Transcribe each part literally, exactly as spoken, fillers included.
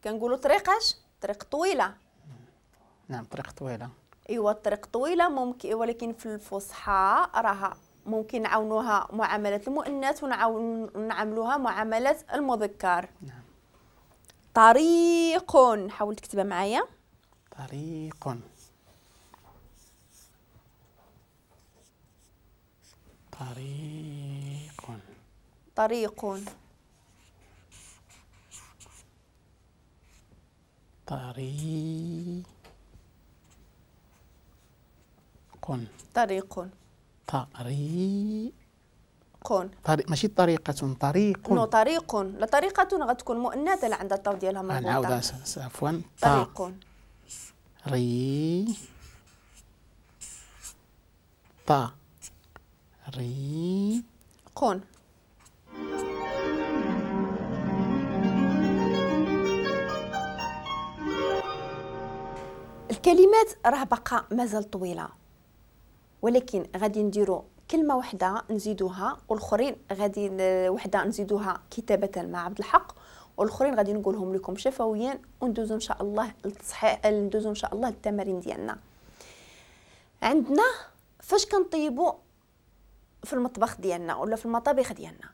كنقولوا طريق اش؟ طريق طويلة. نعم طريق طويلة. ايوا الطريق طويلة ممكن، ولكن في الفصحى راها ممكن نعاونوها معاملة المؤنث ونعاملوها معاملة المذكر. نعم. طريق، حاول تكتبها معايا. طريق. طريق. طريق. طريق. طريق. طريق. طريق ماشي طريقة، طريق. نو طريق، لا طريقة غتكون مؤنثة لا عندها الطاو ديالها مربوطة. نعاودها عفوا. طريق. ري طا ري قون. الكلمات راه باقا مازال طويلة، ولكن غادي نديرو كلمة وحدة نزيدوها، والآخرين غادي وحدة نزيدوها كتابة مع عبد الحق، والآخرين غادي نقولهم لكم شفويا، وندوزو إن شاء الله للتصحيح، ندوزو إن شاء الله للتمارين ديالنا. عندنا فاش كنطيبو في المطبخ ديالنا ولا في المطابخ ديالنا،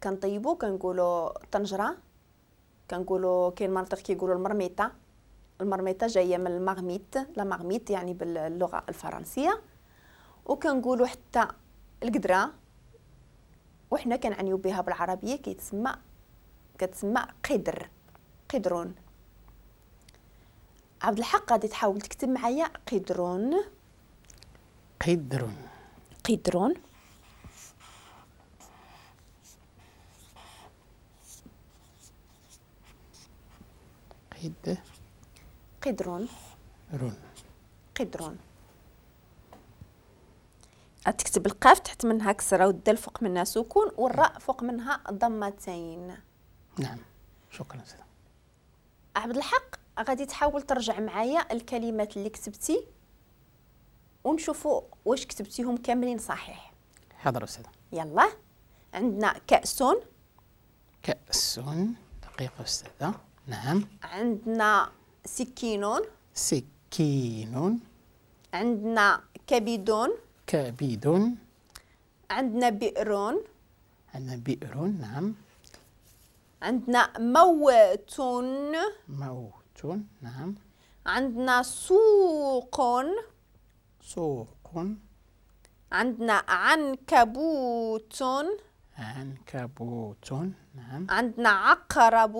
كنطيبو كنقولو طنجرة، كنقولو كاين مناطق كيقولو المرميطة. المرميطة جاية من ال marmite، la marmite يعني باللغة الفرنسية. وكنقولوا حتى القدرة، وحنا كنعنيو بها بالعربية كيتسمى كتسمى قدر، قدرون. عبد الحق غادي تحاول تكتب معايا قدرون. قدرون. قدرون. قد قدرون. رون. قدرون. تكتب القاف تحت منها كسرة والدال فوق منها سكون والراء فوق منها ضمتين. نعم شكرا سيدي. عبد الحق غادي تحاول ترجع معايا الكلمات اللي كتبتي ونشوفوا واش كتبتيهم كاملين صحيح. حاضر أستاذة. يلا عندنا كأس. كأس، دقيقة أستاذة. نعم. عندنا سكين. سكين. عندنا كبد. كبد. عندنا بئر. عندنا بئر. نعم. عندنا موت. موت. نعم. عندنا سوق. سوق. عندنا عنكبوت. عنكبوت. نعم. عندنا عقرب.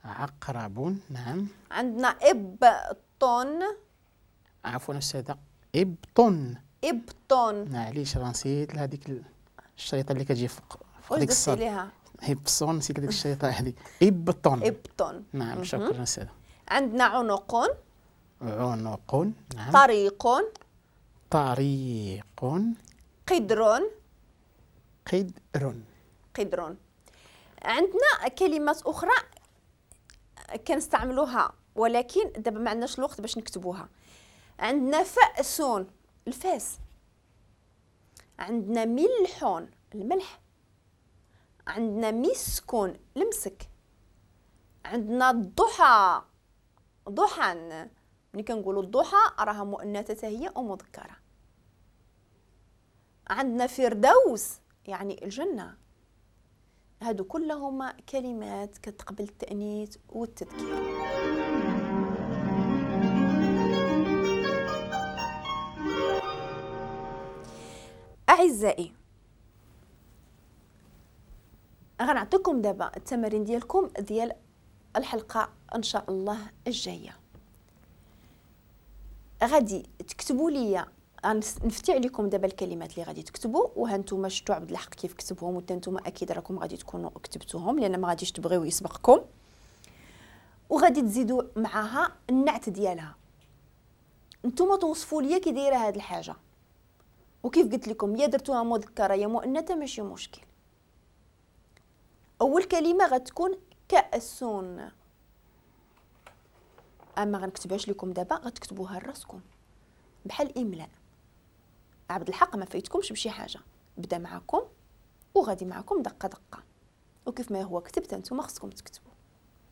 عقرب. نعم. عندنا إبط. عفوا أستاذة، إبط. إبط. معليش راه نسيت لهذيك الشريطة اللي كتجي فوق فوق ديك الصاد. ليها؟ هبصون، نسيت هذيك الشريطة هذيك. إبط. إبط. نعم شكرا أستاذة. عندنا عنق. عنق. نعم. طريق. طريق. قدر. قدر. قدر. عندنا كلمات أخرى كنستعملوها ولكن دابا ما عندناش الوقت باش نكتبوها. عندنا فأس، الفاس. عندنا ملح، الملح. عندنا مسك، المسك. عندنا الضحى، ضحى. ملي كنقولوا الضحى راها مؤنثة هي ومذكرة. عندنا فردوس يعني الجنة. هادو كلهما كلمات كتقبل التأنيث والتذكير. أعزائي غنعطيكم دابا التمارين ديالكم ديال الحلقة إن شاء الله الجاية. غادي تكتبوا لي، غنفتي عليكم دابا الكلمات اللي غادي تكتبوا، وها نتوما شفتوا عبد الحق كيف كتبهم، وحتى نتوما اكيد راكم غادي تكونوا كتبتوهم لان ما غاديش تبغيو يسبقكم. وغادي تزيدوا معاها النعت ديالها، نتوما توصفوا لي كي دايرة هاد الحاجة. وكيف قلت لكم يا درتوها مذكره يا مؤنثة ماشي مشكل. اول كلمة غتكون كأس، اما غنكتبهاش لكم دابا غتكتبوها لراسكم بحال املاء. عبد الحق ما فايتكمش بشي حاجة، بدا معكم وغادي معكم دقه دقه، وكيف ما هو كتبت نتوما خصكم تكتبوا.